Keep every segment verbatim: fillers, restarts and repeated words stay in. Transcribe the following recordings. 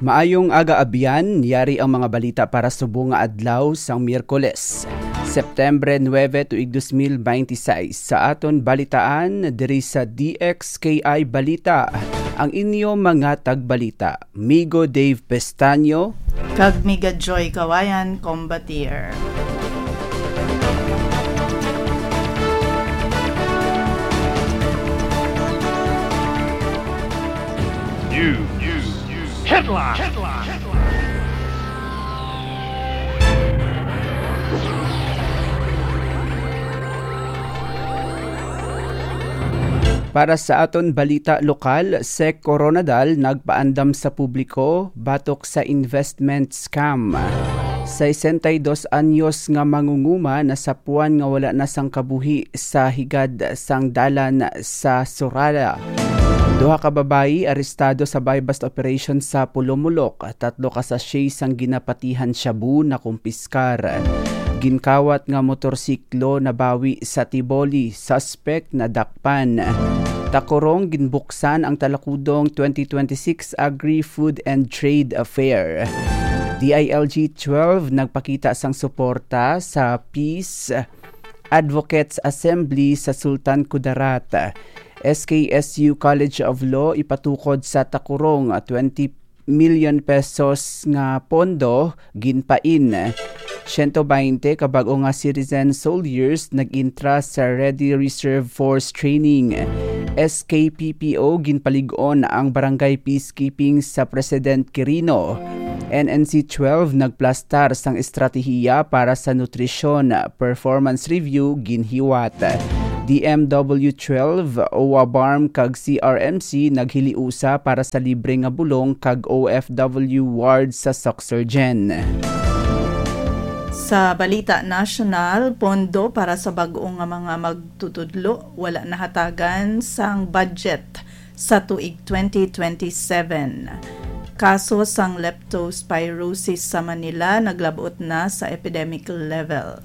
Maayong aga, abyan. Yari ang mga balita para subong nga adlaw sang Miyerkules, September nuebe, tuig dos mil beintiseis. Sa aton balitaan diri sa D X K I Balita, ang inyo mga tagbalita, Migo Dave Pestaño. Kag Miga Joy Kawayan, Combatier. News. Headline. Para sa aton balita lokal, Sec Coronadal nagpaandam sa publiko batok sa investment scam. Sesenta y dos anyos nga mangunguma nasapuan nga wala na sang kabuhi sa higad sang dalan sa Sorala. Duha ka babayi arestado sa buy-bust operation sa Pulomolok. Tatlo ka sachet sang ginapatihan shabu nakumpiskar. Ginkawat nga motorsiklo nabawi sa Tiboli. Suspect nadakpan. Takurong, ginbuksan ang Talakudong twenty twenty-six Agri-Food and Trade Fair. D I L G twelve nagpakita sang suporta sa Peace Advocates Assembly sa Sultan Kudarat. S K S U College of Law ipatukod sa Takurong, twenty million pesos nga pondo ginpain. Siyento baynte ka bag-o nga citizen soldiers nag-entra sa Ready Reserve Force Training. S K P P O ginpalig-on ang Barangay Peacekeeping sa President Quirino. N N C twelve nagplastar sang estratehiya para sa nutrisyon, performance review ginhiwat. D M W twelve, OWABARM kag C R M C naghiliusa para sa libre nga bulong kag O F W ward sa Socsurgen. Sa balita nasyonal, pondo para sa bag-o nga mga magtutudlo wala nahatagan sang budget sa tuig twenty twenty-seven. Kaso sang leptospirosis sa Manila naglab-ot na sa epidemic level.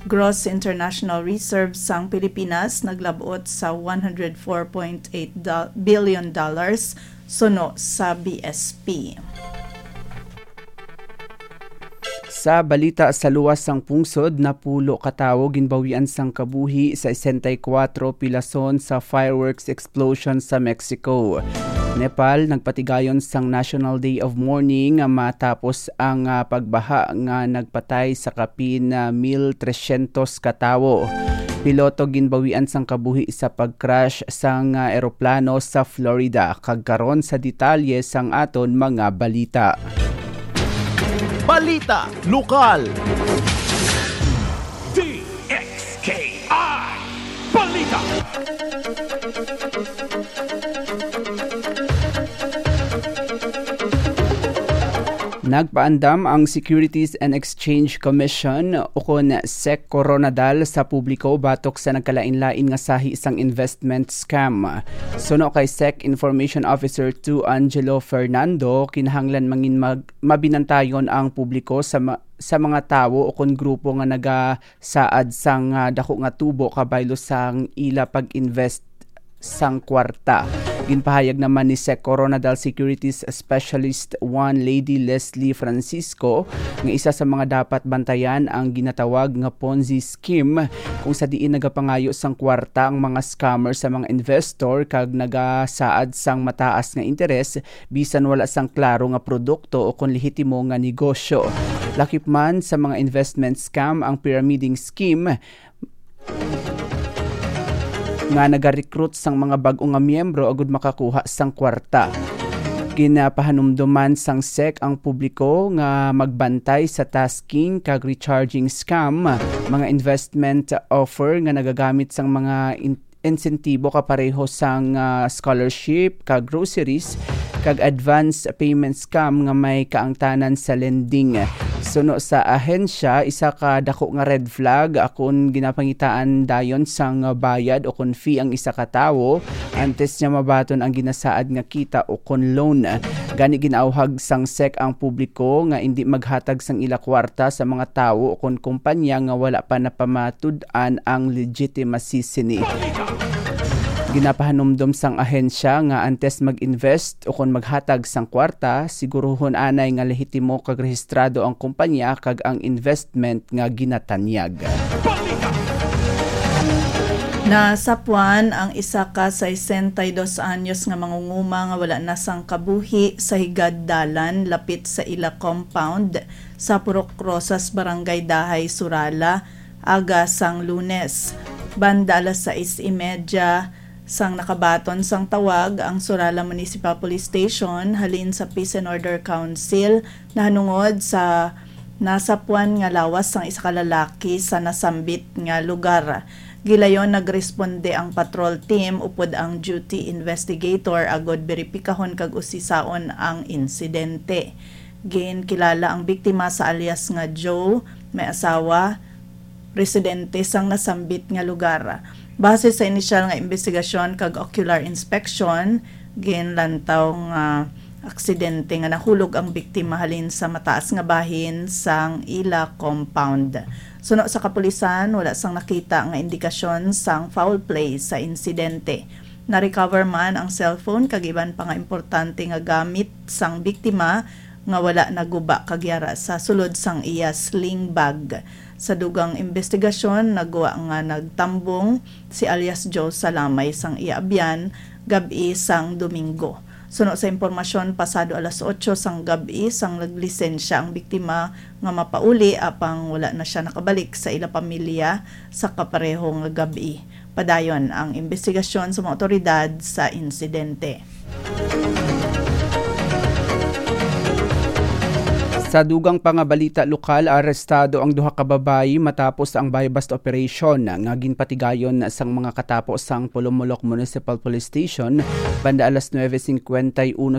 Gross international reserves sang Pilipinas naglab-ot sa one hundred four point eight dol-, billion dollars, suno sa B S P. Sa balita sa luwas sang pungsod, napulo ka tawo ginbawian sang kabuhi sa sesenta y kuwatro pilason sa fireworks explosion sa Mexico. Nepal nagpatigayon sang National Day of Mourning matapos ang, ah, pagbaha nga nagpatay sa kapin, ah, mil tresyentos ka tawo. Piloto ginbawian sang kabuhi sa pag-crash sang, ah, eroplano sa Florida. Kag karon sa detalye sang aton mga balita. Balita lokal. D X K I Balita. Nagpaandam ang Securities and Exchange Commission, ukon sec Coronadal, sa publiko batok sa nagkalain-lain nga sahi sang investment scam. Suno kay sec Information Officer two Angelo Fernando, kinahanglan mangin mag-, mabinantayon ang publiko sa ma-, sa mga tawo ukon grupo nga nagasaad sang, ah, dako nga tubo kabaylo sang ila pag-invest sang kwarta. Ginpahayag naman ni sec Coronadal Securities Specialist one Lady Leslie Francisco nga isa sa mga dapat bantayan ang ginatawag nga Ponzi scheme, kung sa diin nagapangayo sang kwarta ang mga scammer sa mga investor kag nagasaad sang mataas nga interes bisan wala sang klaro nga produkto o kon lehitimo nga negosyo. Lakip man sa mga investment scam ang pyramiding scheme nga nagarecruit sang mga bag-o nga miyembro agud makakuha sang kwarta. Ginapahanumdoman sang sec ang publiko nga magbantay sa tasking kag recharging scam, mga investment offer nga nagagamit sang mga in-, insentibo kapareho sang, ah, scholarship, kag groceries, kag advance payment scam nga may kaangtanan sa lending. Suno sa ahensya, isa ka dako nga red flag kon ginapangitaan dayon sang bayad o kon fee ang isa ka tawo antes niya mabaton ang ginasaad nga kita o kon loan. Gani, ginaawhag sang sec ang publiko nga indi maghatag sang ila kwarta sa mga tawo o kon kumpanya nga wala pa napamatud-an ang legitimacy sini. Ginapahanumdom sang ahensya nga antes mag-invest o kon maghatag sang kwarta, siguruhon anay nga lehitimo kag rehistrado ang kumpanya kag ang investment nga ginatanyag. Nasapuan ang isa ka sesenta y dos anyos nga mangunguma nga wala na sang kabuhi sa higad dalan lapit sa ila compound sa Purok Rosas, Barangay Dahay, Surala, aga sang Lunes. Banda alas sais y media, sang nakabaton sang tawag ang Surala Municipal Police Station halin sa Peace and Order Council nahanungod sa nasapuan nga lawas sang isa ka lalaki sa nasambit nga lugar. Gilayon nagresponde ang patrol team upod ang duty investigator agod beripikahon kag usisaon ang insidente. Ginkilala ang biktima sa alias nga Joe, may asawa, residente sang nasambit nga lugar. Base sa inisyal nga imbestigasyon kag ocular inspection, ginlantaw nga aksidente nga nahulog ang biktima halin sa mataas nga bahin sang ila compound. Suno sa kapulisan, wala sang nakita nga indikasyon sang foul play sa insidente. Na-recover man ang cellphone kag iban pa nga importante nga gamit sang biktima nga wala naguba kag yara sa sulod sang iya sling bag. Sa dugang imbestigasyon, nagwa nga nagtambong si alias Joe sa lamay sang iya abyan gab-i sang Domingo. Suno sa impormasyon, pasado alas otso sang gab-i sang naglisensya ang biktima nga mapauli, apang wala na siya nakabalik sa ila pamilya sa kapareho nga gab-i. Padayon ang imbestigasyon sa mga otoridad sa insidente. Sa dugang pa nga balita lokal, arestado ang duha ka babayi matapos ang buy-bust operation nga ginpatigayon sang mga katapo sang Polomolok Municipal Police Station banda alas nuebe cincuenta y uno